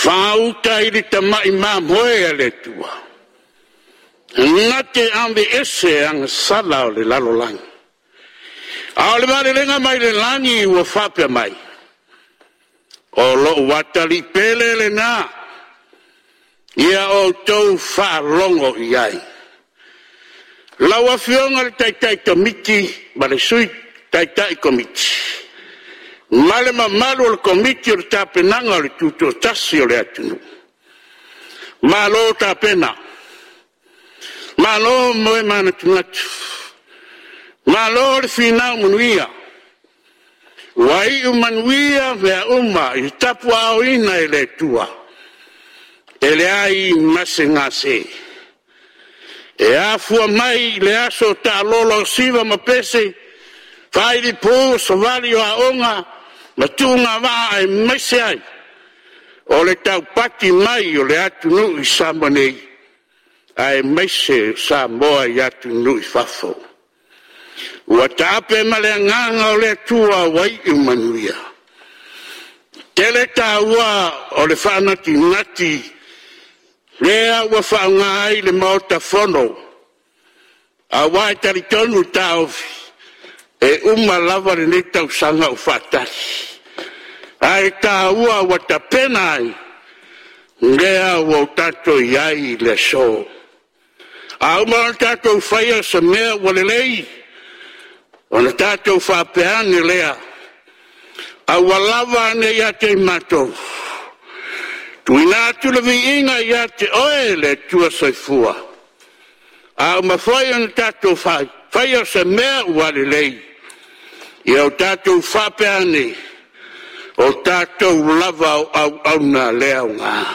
Faauta i le tamai mamoe a le Atua, na te aveese agasala o le lalolagi. A o le malelega mai le lagi ua faapea mai, “O lou atalii pele lena, ia outou faalogo i ai.” Lau Afioga i le Taitai Komiti ma le Sui Taitai Komiti ma le mamalu o le Komiti o le Tapenaga o le Tutoatasi o le atunuu, malo tapena, malo moe manatunatu, malo le finau manuia. Ua iu manuia mea uma i le tapuaaoina e le Atua, e leai ma se gase. E afua mai i le aso taalolo siva ma pese, failipu savali o aoga ma tuugavaa aemaise ai o le taupati mai o le atunuu i Samoa nei, aemaise o Samoa i atunuu i fafo. Ua taape ma le agaga o le Atua ua iu manuia. E tele taua o le faanatinati lea ua faaaoga ai le Maota Fono, aua e talitonu le taofi, e uma lava lenei tausaga o faatali, ae taua ua tapena ai lea ua tatou i ai i le aso. A uma ona tatou faia se mea ua lelei, ona tatou faapea ane lea, aua lava ne i ia te i matou, tuuina atu le viiga ia te Oe le Atua Soifua. A uma foi ona tatou faia se mea ua lelei, ia o tatou faapea ane, o tatou lava o auauna a lea aoga.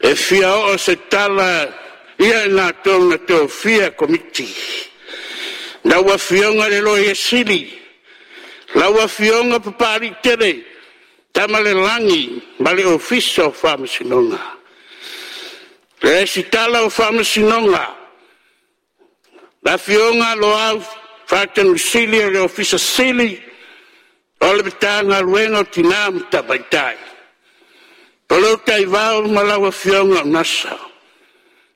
E fia oo se tala ia i latou na tofia komiti, lau Afioga i le Loia Sili, lau Afioga Papaliitele Tamalelagi ma le Ofisa o Faamasinoga. Le Resitala o Faamasinoga, le Afioga Loau Faatonisili o le Ofisa Sili o le Matagaluega o Tina ma Tamaitai, Tolotaivao ma lau Afioga Gasa.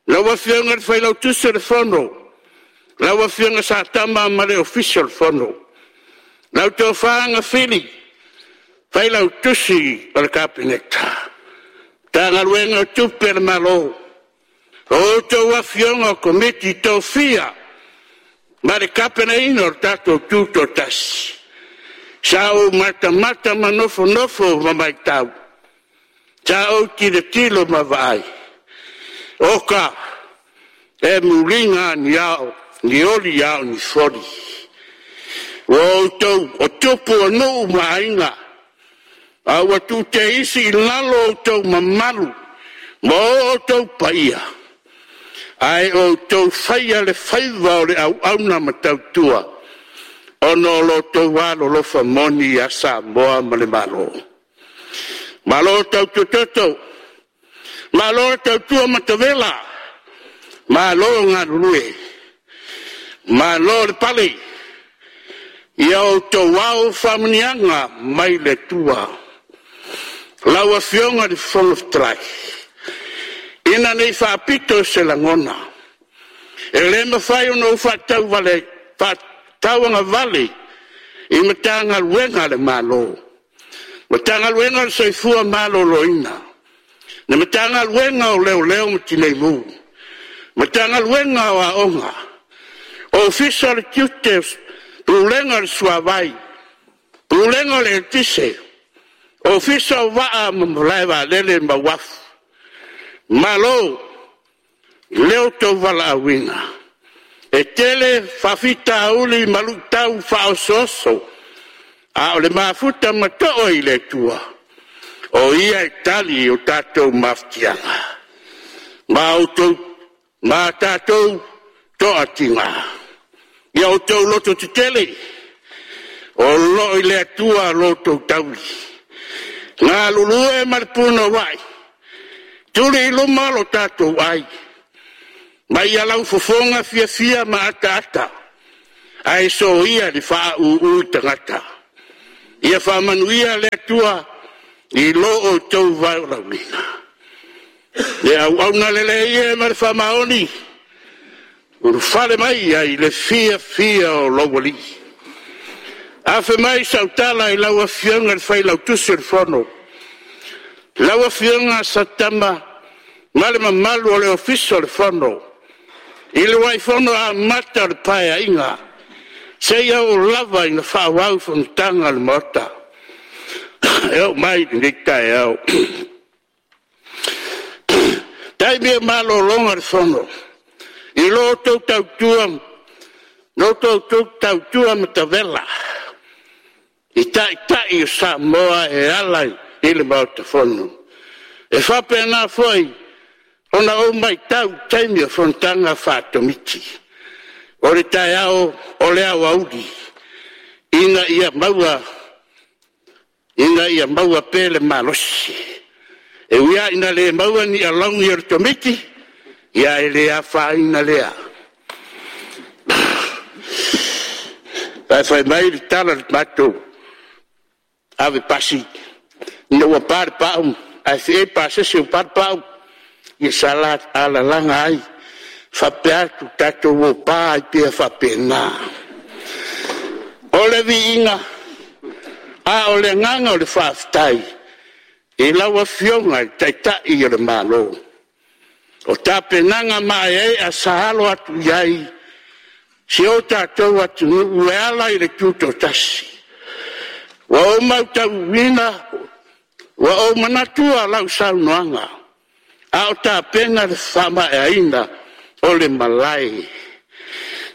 Lau Afioga i le Failautusi o le Fono, lau Afioga Satama ma le Ofisa o le Fono. Lau Tofa Agafili, Failautusi o le Kapeneta, Matagaluega o Tupe a le Malo, a outou afioga o Komiti Tofia ma le tapenaina o le tatou Tutoatasi, sa ou matamata ma nofonofo ma matau, sa ou tilotilo ma vaai, oka, e muliga lava ni oli a o ni foli. O outou o tupu o nuu ma aiga, a ua tuuteisi i lalo outou mamalu ma o outou paia, ae outou faia le faiva o le auauna ma tautua ona o lo outou alolofa moni ia Samoa ma le Malo. Malo tautua toto, malo tautua matavela, malo galulue, malo le pale. Ia outou ao faamanuiaga mai le Atua. Lau Afioga i le Fofoga Fetalai, ina ne i faapito se lagona, e le mafai ona ou faatauagavale i Matagaluega a le Malo, Matagaluega o le Soifua Maloloina, le Matagaluega o Leoleo ma Tinei Mu, Matagaluega o Aoga, Ofisa o le Tiute, Pulega o le Suavai, Pulega o le Eletise, Ofisa o Vaa ma Malaevaalele ma Uafu. Malo i lo outou valaauina. E tele faafitauli ma luitau faaosooso, a o le mafuta ma toa i le Atua, o Ia e tali i o tatou mafatiaga ma tatou toatiga. Ia outou lototetele, o lo o i le Atua lo outou tauli. Galulue ma le punouai, tuli i luma lo tatou ai, ma ia laufofoga fiafia ma ataata, ae soia le faauu i tagata. Ia faamanuia le Atua i lo outou valaauina. Le auauna lelei e ma le faamaoni, ulufale mai ai i le fiafia o lou Alii. Afe mai sau tala i lau Afioga i le Failautusi o le Fono, lau Afioga Satama ma le mamalu o le Ofisa o le Fono, i le uluai fono amata o le Paeaiga seia oo lava ina faaauau fonotaga a le Maota e oo mai i lenei taeao. I taimi o malologa o le Fono, i lo outou tautua matavela i Taitai o Samoa e ala i le Maota Fono. E faapena foi ona ou matau i taimi o fonotaga faa-Komiti o le taeao, o le aoauli, ina ia maua pea le malosi. E ui lava ina le maua ni alauni o le Komiti, ae le afaina lea. Aua fai mai le tala a le matou ave pasi, ina ua pa le pau ae feei le pasese ua pa le pau, ia sa alalaga ai faapea atu, tatou o pa ai pea faapena. O le viiga, a o le agaga o le faafetai i lau Afioga i le Taitai o le Malo, o tapenaga maeaea sa alo atu i ai si o tatou atunuu e ala i le Tutoatasi. Ua ou matauina, ua ou manatua lau saunoaga a o tapena le faamaeaina o le malae,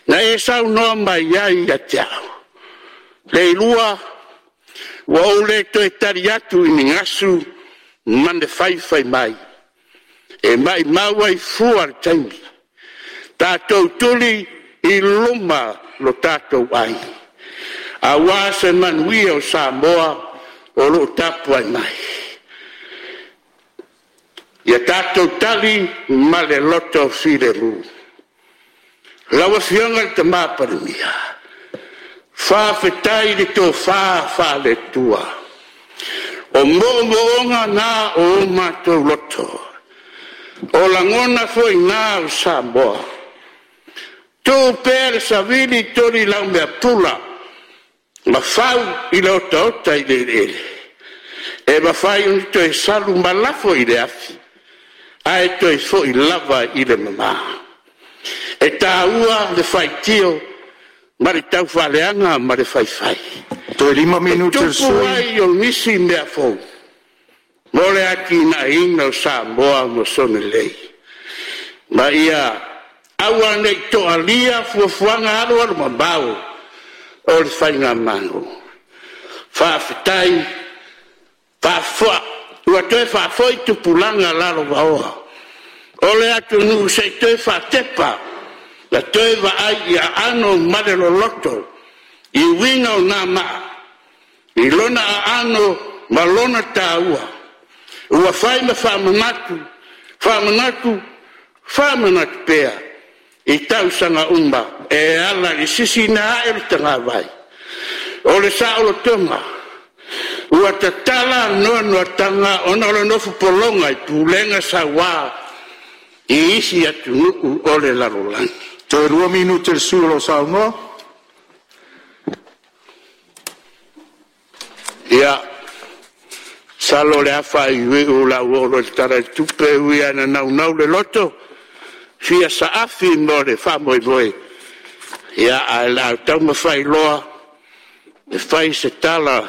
na e saunoa mai ai ia te au, “Leilua, ua ou le toe tali atu i ni gasu ma ni faifai mai, e maumau ai fua le taimi. Tatou tuli i luma lo tatou ai, aua se manuia o Samoa o lo o tapuai mai. Ia tatou tali ma le loto filemu.” Lau Afioga i le Palemia, faafetai i le tofa faale-Atua. O moomooga na o o matou loto, o lagona foi na o Samoa. Tuu pea le savili tolilaumea-pula ma fau i le otaota i le eleele, e mafai ona toe salu ma lafo i le afi, ae toe foi lava i le mama. E taua le faitio ma le taufaaleaga ma le faifai. Toe 5 minute E o le tupu sui usufono. ai o nisi mea fou mo le atinaeina o Samoa mo sona lelei. Ma ia aua ne i toalia fuafuaga alualumamao o le faigamalo. Faafetai ua toe faafoi tupulaga lalovaoa o le atunuu se i toe faatepa ma toe vaai i aano ma le loloto i uiga o na maa i lona aano ma lona taua ua fai ma faamanatu, faamanatu, faamanatu pea i tausaga uma e ala i le sisiina ae o le tagavai o le saolotoga ua tatala noanoataga ona o le nofo pologa i pulega saua i isi atunuu o le lalolagi. Toe 2 minute o le sui usufono o lo o saunoa. Ia, masalo o le a faaiuiu o le a ou oo loa i le Tala o le Tupe, e ui lava ina naunau le loto e fia saafi mo le faamoemoe, ae o le a taumafai loa e fai se tala